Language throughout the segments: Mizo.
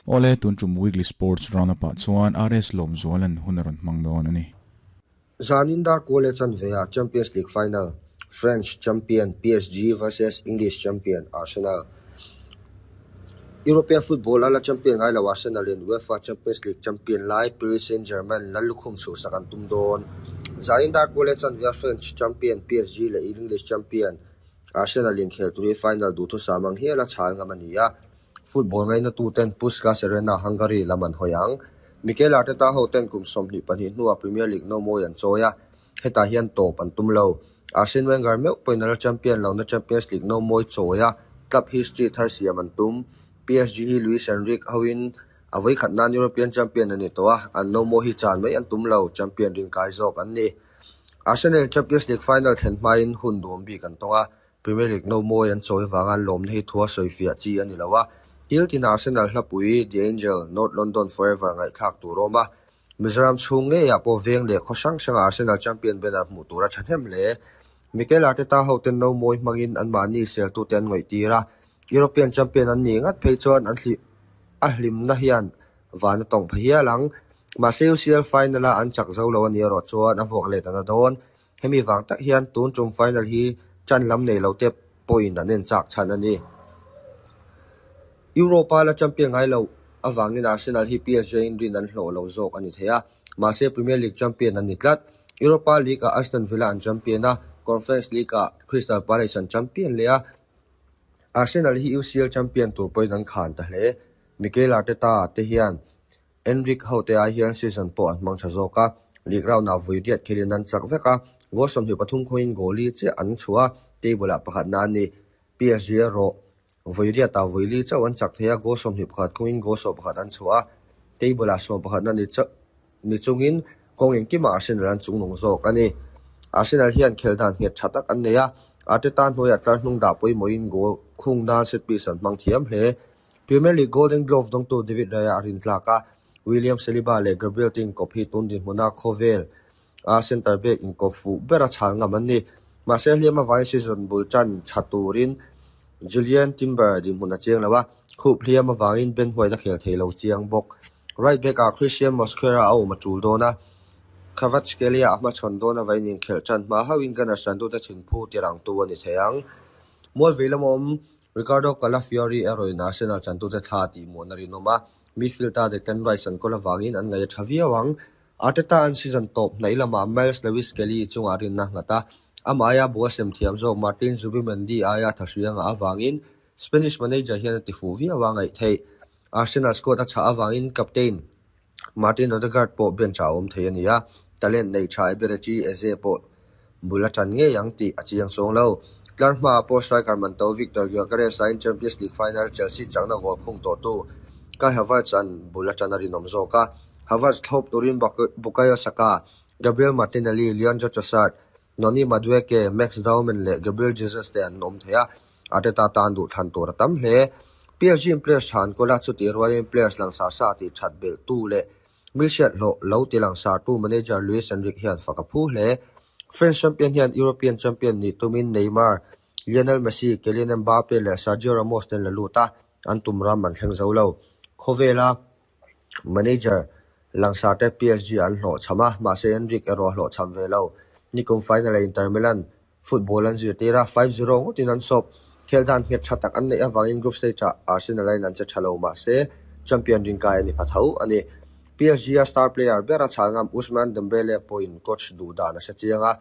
Awle, tun tum Weekly Sports Roundup ah chuan RS Lawmzuala'n hun a rawn hmang dawn a ni. Zanin dar kual chanve ah Champions League final, French champion PSG vs English champion Arsenal. European football a la champion ngai lo Arsenal in UEFA Champions League champion lai Paris Saint-Germain lallukhum chhuhsak an tum dawn. Zanin dar kual chanve ah French champion PSG leh English champion Arsenal inkhel tur hi final duhthusam ang hial a chhal ngam a ni a. Football ngaina tuten Puskas Arena, Hungary lam an hawi ang. Mikel Arteta hoten kum 22 hnuah Premier League no mawi an chawi a, hetah hian tawp an tum lo. Arsene Wenger meuh pawhin a la champion lohna Champions League no mawi chawi a, club history thar siam an tum. PSG hi Luis Enrique hoin a vawikhat nan European champion a ni tawh a, an no mawi hi chan mai an tum lo, champion rinkai zawk an ni. Arsenal Champions League final thlen hmain hun duam bik an tawng a, Premier League no mawi an chawi avanga lawmna hi thua sawifiah chi a ni lo a, thil tin Arsenal hlapui The Angel, North London Forever ngaihthlak tur a awm a. Mizoram chhung ngeiah pawh veng leh khaw hrang hrangah Arsenal champion banner hmuh tur a thahnem hle. Mikel Arteta hoten no mawi hmangin anmahni seltute an ngawihtir a, European champion an nih ngat phei chuan an a hlimna hian van a tawng pha hial ang. Mahse UCL final-a an chak zo lo a nih erawh chuan a vuak let a na dawn. Hemi vang tak hian tun tum final hi chan lam nei lo te pawhin an en chak chhan a ni. Europa la champion ngai lo avangin Arsenal hi PSG in rin an hlawh lo zawk a ni thei a, mahse Premier League champion an ni tlat. Europa League-ah Aston Villa an champion a, Conference League-ah Crystal Palace an champion leh a, Arsenal hi UCL champion tur pawhin an khan ta hle. Mikel Arteta te hian Enrique hote ai hian season pawh an hmang tha zawk a, league round ah vui riat khelin an chak vek a, goal 23 khawngin goal li chiah an chhuah a, table ah pakhatna a ni. PSG erawh vui riat ah vui li chauh an chak thei a, goal 21 khawngin goal 11 an chhuah a, table ah sawmpakhatna ni chauh ni chungin kawng engkimah Arsenal an chungnung zawk a ni. Arsenal hian khel dan nghet tha tak an nei a, Arteta hnuaiah tlar hnung dah pawimawhin goal khung nan set piece an hmang thiam hle. Premier League Golden Glove dawngtu David Raya a rintlak a, William Saliba leh Gabriel te inkawp hi tun dinhmuna khawvel a centre back inkawp fuh bera chhal ngam an ni. Mahse hliam avangin season bul tan tha turin Julian Timber dinhmun a chiang lo a, khup hliam avangin Ben White a khel thei lo chiang bawk. Right back ah Christian Mosquera a awm a tul dawn a, Kvaratskhelia a hmachhawn dawn avangin inkhelh tan hma hauhin Gunners tantute thinphu tirangtu a ni thei ang. Mualvei lama awm Riccardo Calafiori erawhin Arsenal chantute thla a tihmuhna rinawm a, midfield-a Declan Rice an kawl avangin an ngaih a tha viau ang. Arteta an season tawp hnaih lamah Myles Lewis-Skelly chungah rinna a nghat a, amah aia bu a sem thiam zawk Martin Zubimendi aia tha hri a ngah avangin Spanish manager hian a tifuh viau a ngaih theih. Arsenal squad a chhah avangin captain Martin Odegaard pawh bench-ah a awm thei a ni a, talent neih tha Eberechi Eze pawh bul a tan ngei ang tih a chiang chuang lo. Tlar hmaah pawh striker man to Victor Gyokeres aiin Champions League final Chelsea chakna goal khung tawhtu Kai Havertz an bul a tan a rinawm zawk a. Havertz thlawp turin Bukayo Saka, Gabriel Martinelli, Leandro Trossard, Noni Madueke, Max Dowman leh Gabriel Jesus te an awm thei a, Arteta tan duh thlan tur a tam hle. PSG in players tha an kawl a, chutih rualin players langsar sa tih that belh tu leh milhriat hlawh lo ti langsar tu manager Luis Enrique hian fak a phu hle. French champion hian European champion nih tumin Neymar, Lionel Messi, Kylian Mbappe leh Sergio Ramos te an la lut a, an tum ram an thleng zo lo. Khawvela manager langsar te PSG an hlawhchham a, mahse Enrique erawh a hlawhchham ve lo. Nikum final-ah Inter Milan Football an zirtir a, 5-0 ngawtin an sawp. Khel dan nghet tha tak an neih avangin group stage-ah Arsenal aiin an che tha lo mahse champion rinkai a ni pha tho a ni. PSG-a star player ber a chhal ngam Ousmane Dembele pawhin coach duh dan a hre chiang a,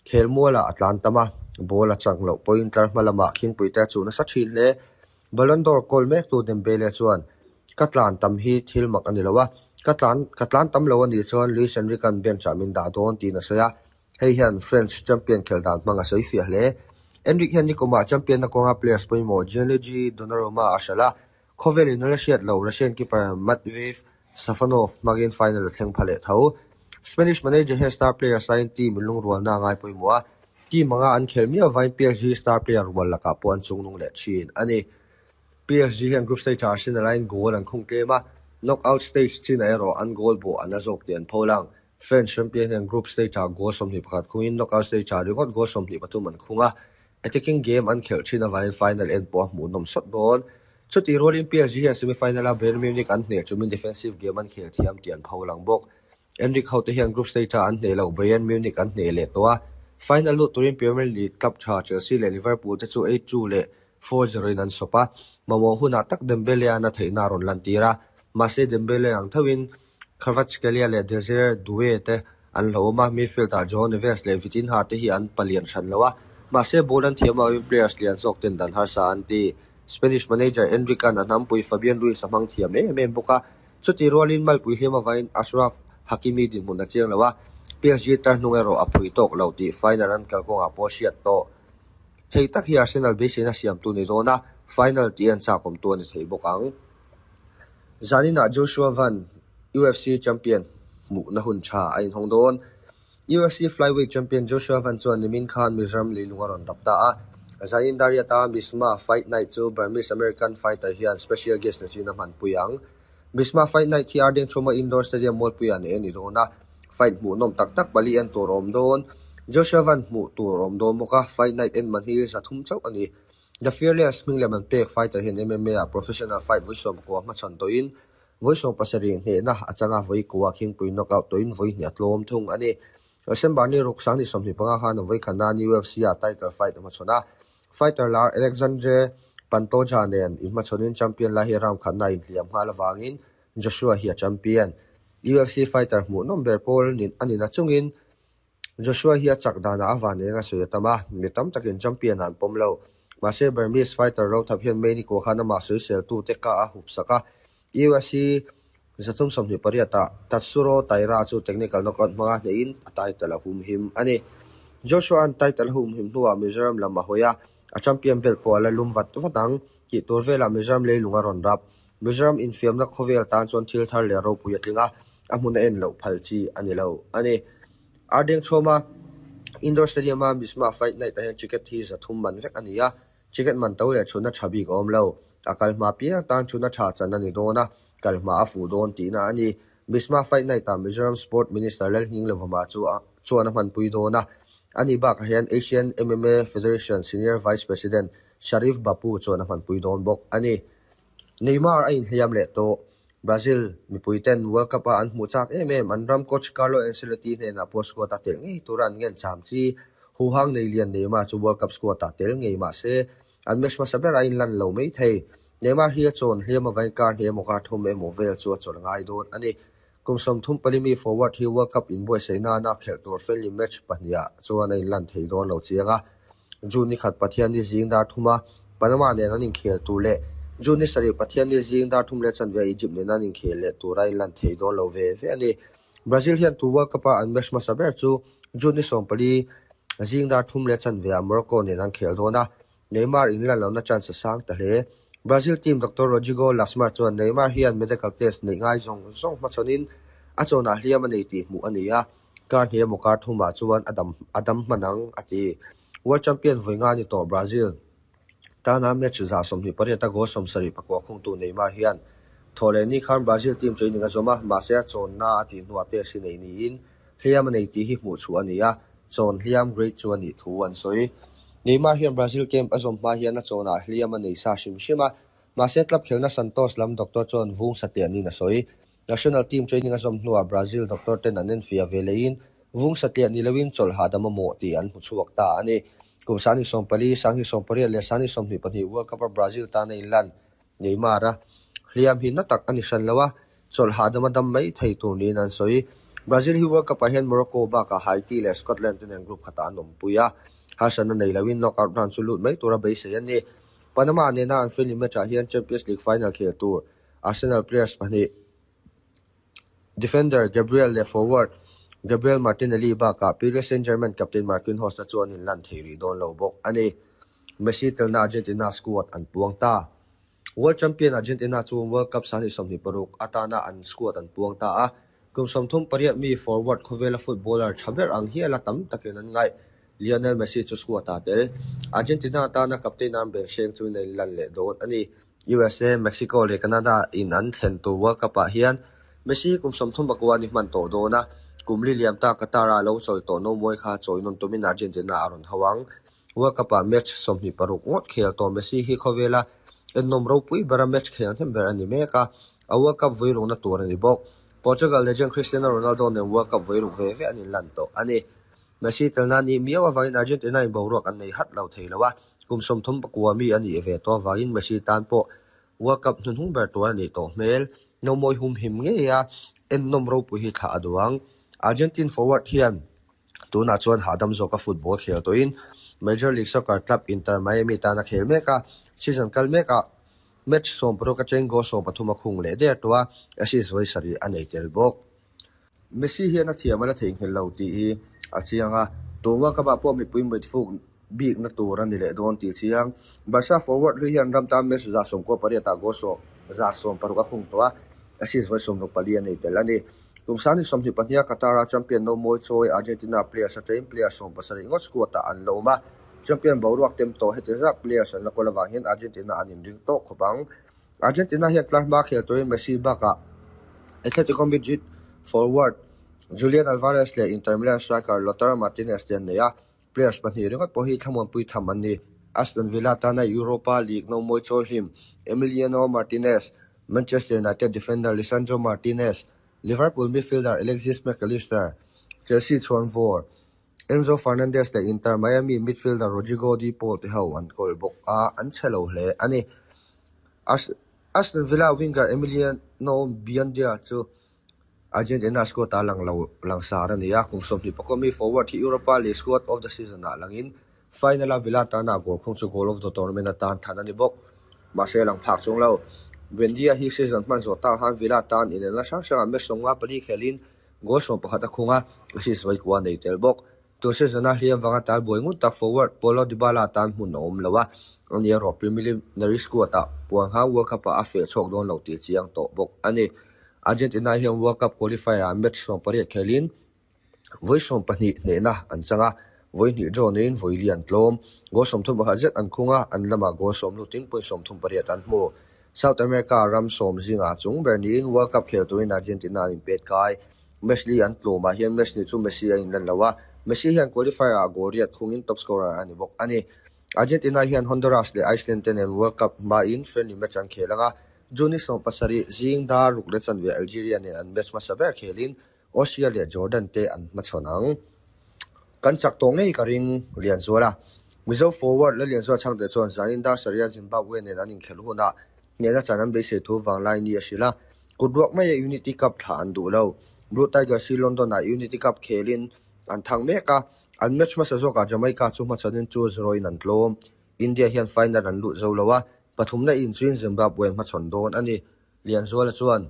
khel mualah a tlan tam a, ball a chang loh pawhin tlar hma lamah khingpuite a chuh nasa thin hle. Ballon d'Or kawl mektu Dembele chuan, Ka tlan tam hi thil mak a ni lo a, ka tlan ka tlan tam lo a nih chuan Luis Enrique-a'n bench-ah min dah dawn tiin a sawi a. Hei hian French champion khelh dan hmang a sawi fiah hle. Enrique hian nikumah champion-na kawnga players pawimawh Gianluigi Donnarumma a hralh a, khawvel in a la hriat lo Russian keeper Matvei Safonov hmangin final a thleng pha leh tho. Spanish manager hian star players aiin team lungrualna a ngai pawimawh a, team anga an khelh miau avangin PSG star player rual lakah pawh an chungnung leh thin a ni. PSG hian group stage-ah Arsenal aiin goal an khung tlem a, knockout stage chinah erawh an goal bawh an la zawk tih an pholang. French champion hian group stage-ah goal 21 khungin knockout stage-ah ringawt goal 23 an khung a, attacking game an khelh thin avangin final en pawh a hmuhnawm sawt dawn. Chutih rualin PSG hian semi-final-a Bayern Munich an hneh chumin defensive game an khel thiam tih an pholang bawk. Enrique hote hian group stage-a an hneh loh Bayern Munich an hneh leh tawh a, final lut turin Premier League club tha Chelsea leh Liverpool te chu 8-2 leh 4-0 in an sawp a, mamawh hunah tak Dembele-a'n a theihna a rawn lantir a, mahse Dembele ang thoin Kvaratskhelia leh Desire Doue te an hlauhawm a, midfield-ah Joao Neves leh Vitinha te hi an palian hran lo a, mahse ball an thiam avangin players lian zawk ten dan harsa an ti. Spanish manager Enrique-a'n a hnampui Fabian Ruiz a hmang thiam em em bawk a, chutih rualin malpui hliam avangin Achraf Hakimi dinhmun a chiang lo a, PSG tar hnung erawh a phui tawk lo tih final an kalkawngah pawh a hriat tawh. Hei tak hi Arsenal beiseina siamtu ni dawn a, final tih an chakawmtu a ni thei bawk ang. Zaninah Joshua Van, UFC champion hmuhna hun tha a inhawng dawn. UFC flyweight champion Joshua Van chuan nimin khan Mizoram leilung a rawn rap ta a. Zanin Dariata Misma Fight Night chu Burmese American fighter hian special guest ni chin a hmanpui ang. Misma Fight Night hi Ardengchhuma Indoor Stadium mualpuiah neih a ni dawn a, fight hmuhnawm tak tak pali en tur a awm dawn. Joshua Van hmuh tur a awm dawn bawk a, Fight Night en man hi 300 chauh a ni. The Fearless hming lem an pek fighter hian MMA ah professional fight vawi 19 hmachhawn tawhin vawi 17 hnehna a chang a, vawi kua khingpui knockout tawhin vawi hnih a tlawm thung a ni. December ni ruk 2025 khan a vawi khatna UFC ah title fight a hmachhawn a, fighter lar Alexandre Pantoja nen inhmachhawnin champion lai hi round khatna a inhliam nghal avangin Joshua hi a champion. UFC fighter hmuhnawm ber pawl a ni nachungin Joshua hi a chak danah a van eng a sawi a tam a, mi tam takin champion ah an pawm lo. Mahse Burmese fighter Rothap hian May ni kua khan amah sawiseltute ka a hup sak a, UFC 328 ah Tatsuro Taira chu technical knockout hmanga hnehin a title a humhim a ni. Joshua-a'n title a humhim hnuah Mizoram lam a hawi a, a champion belt pawh a la lum vat vat ang tih tur velah Mizoram leilung a rawn rap. Mizoram infiamna khawvel tan chuan thil thar leh ropui a tling a, a hmun a en loh phal chi a ni lo a ni. Ardengchhawma Indoor Stadium-a Misma Fight Night-ah hian ticket hi 300 man vek a ni a, ticket man to leh chhunna tha bik a awm lo. A kal hma piang tan chhunna tha chan a ni dawn a, kal hma a fuh dawn tihna a ni. Misma Fight Night-ah Mizoram Sport Minister Lalnghinglevama chu chuan a hmanpui dawn a, ani bakah hian Asian MMA Federation Senior Vice President Sharif Bapu chuan a hmanpui dawn bawk a ni. Neymar a inhliam leh tawh. Brazil mipui ten World Cup a an hmuh chak em em, an ram coach Carlo Ancelotti hnenah pawh squad a telh ngei tura an ngen cham chi. Huhang nei lian Neymar chu World Cup squad ah tel ngei mah se, an match hmasa ber a inlan lo mai thei. Neymar hi a chawn hliam avain kar hnih emaw kar thum emaw vel chu a chawlh ngai dawn a ni. Kum 34 mi forward hi World Cup inbuaitsaih nana khelh tur friendly match pahnih ah chuan a inlan thei dawn lo chiang a. June ni khat Pathianni zing dar thuma Panama nen an inkhel tur leh June ni sarih Pathianni zing dar thum leh chanve Egypt nen an inkhel leh tur a inlan thei dawn lo ve ve a ni. Brazil hian tu World Cup-a an match hmasa ber chu June ni 14 zing dar thum leh chanve ah Morocco nen an khel dawn a, Neymar inlan lohna chance a sang ta hle. Brazil team Doctor Rodrigo Lasmar chuan Neymar hian medical test neih ngai zawng zawng hmachhawnin a chawnah hliam a nei tih hmuh a ni a, kar hnih emaw kar thumah chuan a dam a dam hman ang, a ti. World Champion vawi nga ni tawh Brazil tana match 28 a goal 74 khungtu Neymar hian thawh leh ni khan Brazil team training a zawm a, mahse a chawnna a tih hnuah test hi nei niin hliam a nei tih hi hmuh chhuah a ni a, chawn hliam grade chu a nih thu an sawi. Neymar hian Brazil camp a zawm hma hian a chawnah hliam a nei sa hrim hrim a, mahse club khelna Santos lam doctor chuan vung satliah niin a sawi. National team training a zawm hnuah Brazil doctor ten an enfiah ve leiin vung satliah ni loin chawlh hahdam a mawh tih an hmu chhuak ta a ni. Kum 2014, 2018 leh 2022 World Cup-a Brazil tan a inlan Neymar a hliam hi na tak a ni hran lo a, chawlh hahdam a dam mai thei tur niin an sawi. Brazil hi World Cup-ah hian Morocco bakah Haiti leh Scotland te nen group khatah an awmpui a, harsatna nei loin knockout round chu lut mai tura beisei a ni. Panama nena an friendly match-ah hian Champions League final khel tur Arsenal players pahnih defender Gabriel leh forward Gabriel Martinelli bakah Paris Saint-Germain captain Marquinhos te chuan inlan thei rih dawn lo bawk a ni. Messi telna Argentina squad an puang ta. World Champion Argentina chu World Cup 2026 atana an squad an puang ta a, kum 38 mi forward khawvela footballer tha ber ang hiala tam takin an ngaih. Lionel Messi chu squad a tel. Argentina atana captain an ber hreng chu in a inlan leh dawn a ni. USA, Mexico leh Canada in an thlen tur World Cup ah hian Messi kum 39 ni hman tawh dawn a, kum li liam ta Qatar a lo chawi tawh no mawi kha chawi nawn tumin Argentina a rawn ho ang. World Cup ah match 26 ngawt khel tawh Messi hi khawvela Ennawm ropui bera match khel hnem ber a ni mek a, a World Cup vawi rukna tur a ni bawk. Portugal legend Cristiano Ronaldo nen World Cup vawi ruk ve ve an inlan tawh a ni. Messi telna a nih miau avangin Argentina in boruak an nei hat lo thei lo a, kum 34 mi a nih ve tawh avangin Messi tan pawh World Cup hnuhnung ber tur a nih tawh hmel. Nomawi humhim ngei a, ennawm ropui hi thlah a duh ang. Argentine forward hian tunah chuan hahdam zawka football khel tawhin Major League Soccer club Inter Miami tan a khel mek a, season kal mekah match 16 atangin goal 13 a khung leh der tawh a, assist vawi sarih a nei tel bawk. Messi hian a thiam a la theihnghilh lo tih hi a chiang a, tun World Cup ah pawh mipui mitfuk bikna tur a ni leh dawn tih a chiang. Barca forward hlui hian ram tan match 98 ah goal 160 a khung tawh a, assist vawi 64 a nei tel a ni. Kum sangni 22 a Qatar-a champion nomawi chawi Argentina players atangin player 17 ngawt squad ah an la awm a, champion boruak tem tawh heti zat players an la kawl avang hian Argentina an inring tawk khawp ang. Argentina hian tlar hma khel turin Messi bakah Atletico Madrid forward Julian Alvarez leh Inter Milan striker Lautaro Martinez te an nei a, players pahnih ringawt pawh hi thlamuanpui tham an ni. Aston Villa tana Europa League nomawi chawi hlim Emiliano Martinez, Manchester United defender Lisandro Martinez, Liverpool midfielder Alexis Mac Allister, Chelsea chhuan vawr Enzo Fernandez leh Inter Miami midfielder Rodrigo De Paul te ho an kawl bawk a, an chhe lo hle a ni. Aston Villa winger Emiliano Buendia chu Argentina squad ah lang lo langsar a ni a, kum 24 mi forward hi Europa League squad of the season ah langin final a Villa tana goal khung chu goal of the tournament atan than a ni bawk. Mahse lang phak chung lo. Buendia hi season hman zawh tak han Villa tan inelna hrang hrangah match 54 khelin goal 11 a khung a, assist vawi kua nei tel bawk. Tun season a hliam vanga tal buai ngut tak forward Paulo Dybala tan hmun a awm lo a, ani erawh preliminary squad ah puan hang World Cup ah a feh chhuak dawn lo tih chiang tawh bawk a ni. Argentina hian World Cup qualifier ah match 18 khelin vawi 12 hnehna an chang a, vawi hnih draw neiin vawi li an tlawm. Goal 31 zet an khung a, an lamah goal 10 lutin point 38 an hmu. South America ram sawm zingah chung ber niin World Cup khel turin Argentina an inpet kai. Match li an tlawmah hian match ni chu Messi a inlan lo a, Messi hian qualifier ah goal riat khungin top scorer a ni bawk a ni. Argentina hian Honduras leh Iceland te nen World Cup hmain friendly match an khel ang a, June ni 17 zing dar ruk leh chanve Algeria nen an match hmasa ber khelin Austria leh Jordan te an hmachhawn ang. Kan chak tawh ngei ka ring Lianzuala. Mizo forward la Lianzuala chhangte chuan zanin dar sarih a Zimbabwe nen an inkhelh hunah hnehna chan an beisei thu vanglai ni a hrilh a, kut ruak maia Unity Cup thlah an duh lo. Blue Tigers hi London-ah Unity Cup khelin an thang mek a, an match hmasa zawkah Jamaica chu hmachhanin 2-0 in an tlawm. India hian final an lut zo lo a, pathumna inchuin Zimbabwe hmachhawn dawn a ni. Lianzuala chuan,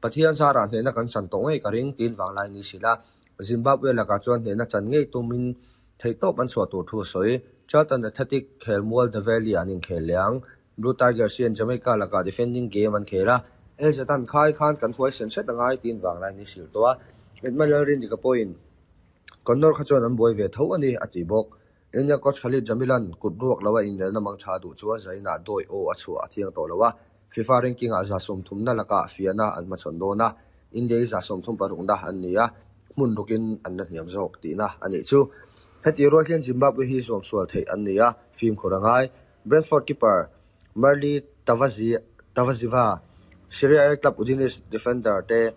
Pathian zarah hnehna kan chan tawh ngei ka ring, tiin vanglai ni hrilh a. Zimbabwe lakah chuan hnehna chan ngei tumin theihtawp an chhuah tur thu a sawi. Charlton Athletic khelmual The Valley an inkhel leh ang. Blue Tigers hian Jamaica lakah defending game an khel a, LZ an khai khan kan huai sen hret angai tiin vanglai ni hrilh tawh a. Edmund Lalrindika pawhin Connor kha chuan an buai ve tho a ni, a ti bawk. India coach Khalid Jamilan kut ruak loa inelna mang tha duh chuan Zainah dawi aw a chhuah a thiang tawh lo a, FIFA ranking ah 30na lakah fiahna an hmachhawn dawn a, India hi 36na an ni a, hmun rukin an la hniam zawk tihna a nih chu. Heti rual hian Zimbabwe hi zuam sual theih an ni a, fimkhur a ngai. Brentford keeper Marley Tavaziva, Serie A club Udinese defender te.